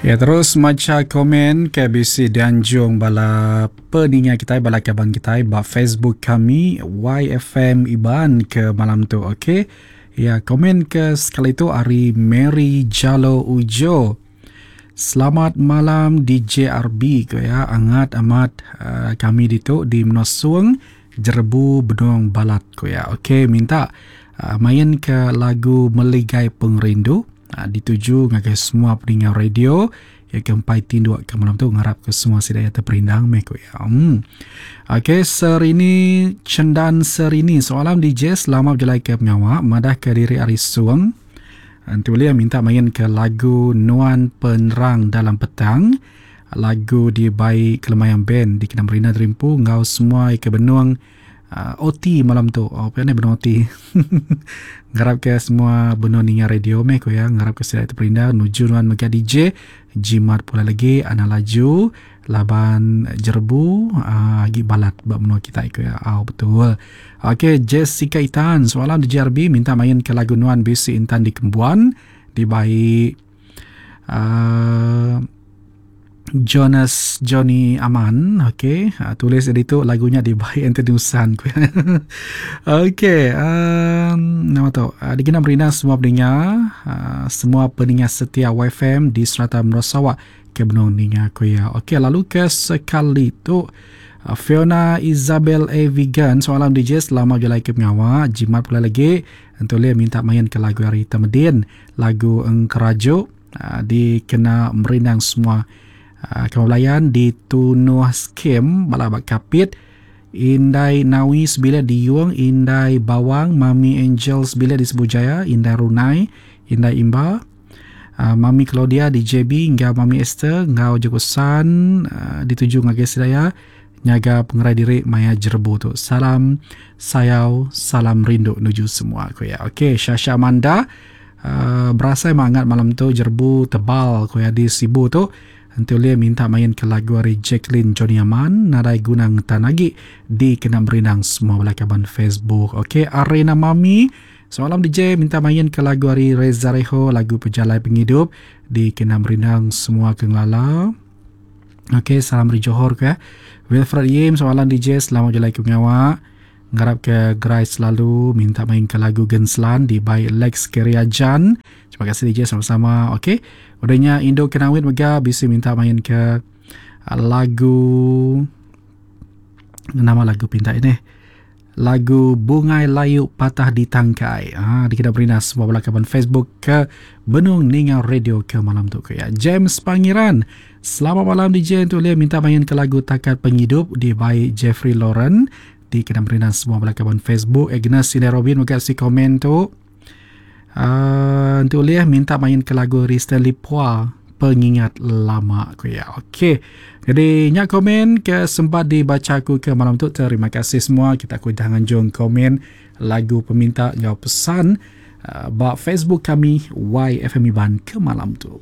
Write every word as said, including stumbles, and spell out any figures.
Ya, terus macha komen ke bisi dianjung bala peninga kitai, bala kaban kitai ba Facebook kami Y F M Iban ke malam tu, okey. Ya, komen ke sekali tu ari Mary Jalo Ujo. "Selamat malam D J R B," ko ya. "Angat amat uh, kami ditu di Menosung, jerebu benung balat," ko ya. Okey, minta uh, main ke lagu Meligai Pengerindu uh, dituju ngagai semua peninga radio ya ke empai tinduk ke malam tu, ngarap ke semua sida ya terperindang meh, ko ya. Hmm. Okey, Serini Cendan Serini. "Soalan D J, selamat berjalan ke pengawak, madah ke diri ari Suang. Entu dia minta main ke lagu Nuan Penerang Dalam Petang. Lagu dibai Kelemayang Band di kena Marina Terimpu ngau semua ke benung uh, O T malam tu." Oh, apa ni benung O T? "Ngarap ke semua benung ninga radio meh," ko ya. "Ngarap ke sida terperindang nuju nuan mega D J. Jimat pula lagi, ana laju laban jerebu uh, agi balat ba menua kita," ko ya. Oh, betul. Okey, Jessica Itan. "Soalan D J R B, minta main ke lagu Nuan Bisi Intan di Kembuan dibai uh, Jonas Johnny Aman." Okey, uh, tulis itu lagunya dibai Anthony Usan. Okey, um, nama tu. Uh, dikena merina semua pendengar, uh, semua pendengar setia Y F M di serata menua Sarawak ke benung ninga, ko ya. Okey, lalu ke sekali tu uh, Fiona Isabel A. Vegan. "Soalan D J, selamat jalan ke pengawal. Jimat pula lagi. Untuk dia minta main ke lagu hari Tamedin, lagu Engkerajuk, uh, dikena merindang semua uh, kawan di Tunuh Skim Balabak Kapit, Indai Nawi Sebila di Yuang, Indai Bawang, Mami Angel Sebila di Sebujaya, Indai Runai, Indai Imba, uh, Mami Claudia di J B, ngau Mami Esther, ngau Jokosan, uh, dituju ngagai sedaya, nyaga pengerai diri maya jerebu tu. Salam sayau, salam rindu nuju semua," ko ya. Okey, Shasha Amanda, uh, berasa hangat malam tu, jerebu tebal, ko ya, di Sibu tu. Nanti boleh minta main ke lagu hari Jacqueline Johnny Aman, Nadai Gunang Tanagi, di kena merindang semua bala kaban Facebook. Okey, Arena Mami. "Semalam D J, minta main ke lagu hari Reza Reho, lagu Pejalai Penghidup, di kena merindang semua kenglala." Okey, salam dari Johor ke. Wilfred Yim, "Soalan D J, selamat jalan ke pengawak. Ngarap ke gerai selalu, minta main ke lagu Genslan di by Lex Keriajan. Terima kasih D J, sama-sama." Okey. Udahnya Indo Kenawit mega bisa minta main ke uh, lagu, nama lagu pinta ini, lagu Bungai Layu Patah di Tangkai. Ah, di kita beri semua bala kaban Facebook ke Benung Ninga Radio ke malam tu ke ya. James Pangeran. "Selamat malam D J, untuk dia minta main ke lagu Takat Penghidup di by Jeffrey Lauren di kena beri semua bala kaban Facebook." Agnes Sine Robin mega si komen tu. Uh, untuk dia minta main ke lagu Stanley Pua, Pengingat Lama, ko ya. Okey. Jadi nyak komen ke sempat dibaca aku ke malam tu. Terima kasih semua. Kita aku dah nganjung komen lagu peminta ngau pesan uh, ba Facebook kami Y F M Iban ke malam tu.